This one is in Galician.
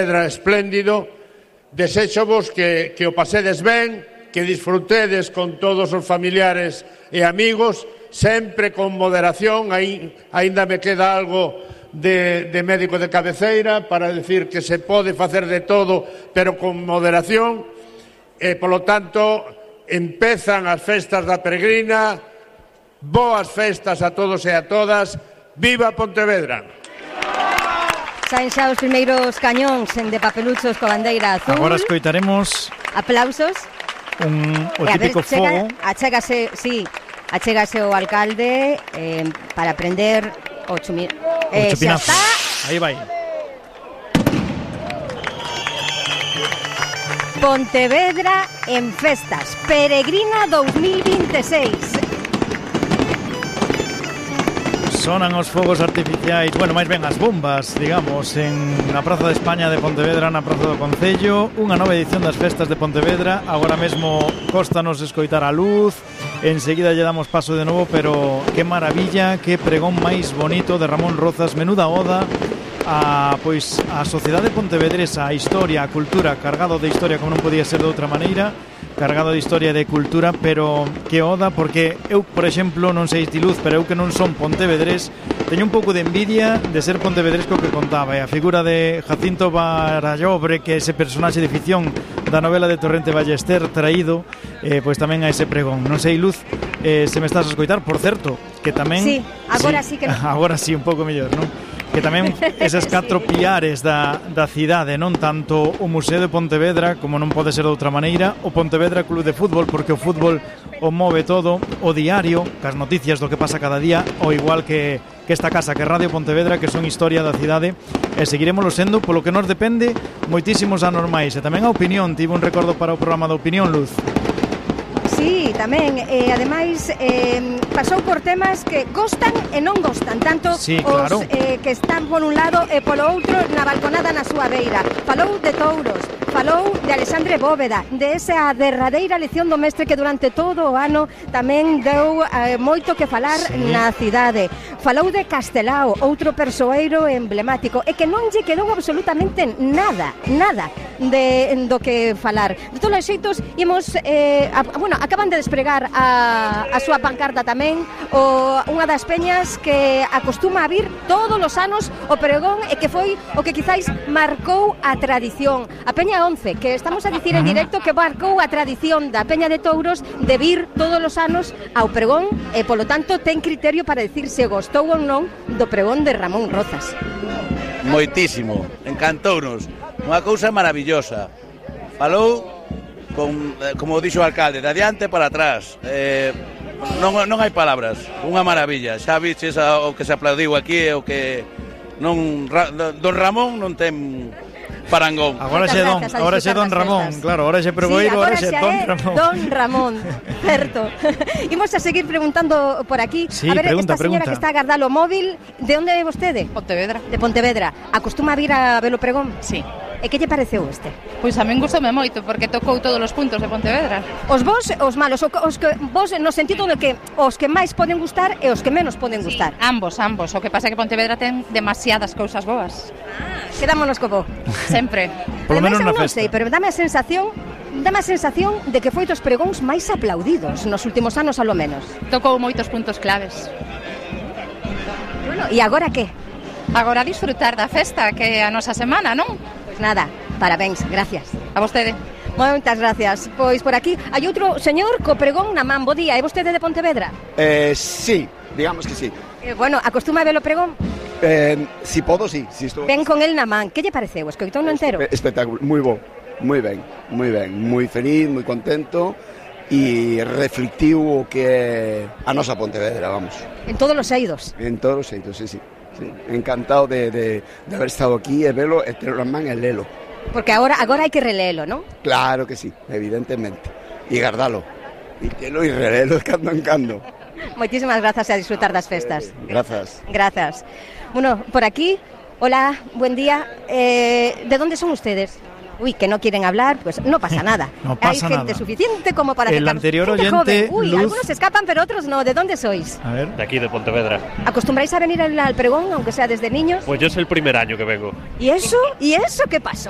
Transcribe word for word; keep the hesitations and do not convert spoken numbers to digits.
Pedra espléndido. Deséxovos que, que o pasedes ben, que disfrutedes con todos os familiares e amigos, sempre con moderación. Aí, aínda me queda algo de, de médico de cabeceira para decir que se pode facer de todo, pero con moderación. E, polo tanto, empezan as festas da Peregrina. Boas festas a todos e a todas. Viva Pontevedra! Saen xa os primeiros cañóns en de papeluchos co bandeira azul. Agora escoitaremos aplausos. Un, o e típico ver, chega, fogo. Achégase, sí, achégase o alcalde eh, para prender o chumi... Eh, xa está. Aí vai. Pontevedra en festas. Peregrina dos mil veintiséis. Sonan os fogos artificiais, bueno, máis ben as bombas, digamos, en na Praza de España de Pontevedra, na Praza do Concello. Unha nova edición das festas de Pontevedra. Agora mesmo cóstanos escoitar a luz. Enseguida lle damos paso de novo, pero que maravilla, que pregón máis bonito de Ramón Rozas. Menuda oda a, pois, a sociedade pontevedresa, a historia, a cultura, cargado de historia como non podía ser de outra maneira, cargado de historia e de cultura, pero que oda, porque eu, por exemplo, non sei ti Luz, pero eu que non son pontevedrés, teño un pouco de envidia de ser pontevedresco que contaba, e a figura de Jacinto Barallobre, que é ese personaxe de ficción da novela de Torrente Ballester, traído, eh, pois tamén a ese pregón. Non sei, Luz, eh, se me estás a escoitar, por certo, que tamén... Sí, agora sí, sí que... Agora sí, un pouco mellor, non? Que tamén eses catro sí. piares da, da cidade, non tanto o Museo de Pontevedra, como non pode ser de outra maneira, o Pontevedra Club de Fútbol, porque o fútbol o move todo, o diario, cas noticias do que pasa cada día, o igual que, que esta casa, que Radio Pontevedra, que son historia da cidade, e seguiremoslo sendo, polo que nos depende, moitísimos anormais, e tamén a opinión, tive un recordo para o programa da opinión, Luz. Sí, tamén, e ademais eh, pasou por temas que gostan e non gostan, tanto sí, claro. os eh, que están por un lado e polo outro na balconada na súa beira. Falou de touros, falou de Alexandre Bóveda, de esa derradeira lección do mestre que durante todo o ano tamén deu eh, moito que falar sí. na cidade. Falou de Castelao, outro persoeiro emblemático, e que non lle quedou absolutamente nada, nada de, do que falar. De todos os xeitos, imos, eh, a, bueno, acaban de despregar a, a súa pancarta tamén, o, unha das peñas que acostuma a vir todos os anos o pregón e que foi o que quizáis marcou a tradición. A Peña once, que estamos a dicir en directo que marcou a tradición da Peña de Touros de vir todos os anos ao pregón e, polo tanto, ten criterio para dicir se gostou ou non do pregón de Ramón Rozas. Moitísimo, encantounos, unha cousa maravillosa. Falou con, como dixo o alcalde, de adiante para atrás. Eh, non, non hai palabras, unha maravilla. Xa viches o que se aplaudiu aquí e o que non don Ramón non ten parangón. Agora xe don, agora xe don Ramón, claro, agora xe pregoeiro, sí, agora xe don Ramón. Don Ramón, certo. Imos a seguir preguntando por aquí. Sí, a ver, pregunta, esta señora pregunta. que está a agardar o móvil, de onde é vostede? Pontevedra. De Pontevedra. Acostuma a vir a ver o pregón? Sí. E que lle pareceu este? Pois a min gustoume moito, porque tocou todos os puntos de Pontevedra. Os bons e os malos, os que vos no sentido de que os que máis poden gustar e os que menos poden gustar. Sí, ambos, ambos. O que pasa é que Pontevedra ten demasiadas cousas boas. Ah, quedámonos co bo. Sempre. Por lo menos na non festa. sei, pero dame a sensación Dame a sensación de que foi dos pregóns máis aplaudidos nos últimos anos, alo menos. Tocou moitos puntos claves. Bueno, e agora que? Agora disfrutar da festa, que é a nosa semana, non? Pois nada, parabéns, gracias. A vostede. Moitas gracias. Pois por aquí hai outro señor co pregón na man. Bo día, é vostede de Pontevedra? Eh, sí, digamos que sí. Eh, bueno, acostuma a ver o pregón? Eh, si podo, sí. Si estou... Ven con el na man. Que lle pareceu? Escoitou no entero? Espectáculo, moi bo, moi ben, moi ben, moi feliz, moi contento e reflectiu o que é a nosa Pontevedra, vamos. En todos os eidos. En todos os eidos, sí, sí. sí. Encantado de, de, de haber estado aquí e velo, e ter na man e lelo. Porque agora agora hai que releelo, non? Claro que sí, evidentemente. E guardalo. E telo e relelo de cando en cando. Moitísimas grazas e a disfrutar das festas. Eh, grazas. Grazas. Bueno, por aquí, hola, buen día. Eh, ¿De dónde son ustedes? Uy, que no quieren hablar, pues no pasa nada. No pasa Hay gente nada. suficiente como para El que anterior gente oyente, joven. Uy, Luz- algunos escapan, pero otros no. ¿De dónde sois? A ver. De aquí, de Pontevedra. ¿Acostumbráis a venir al, al pregón, aunque sea desde niños? Pues yo es el primer año que vengo. ¿Y eso? ¿Y eso qué pasó?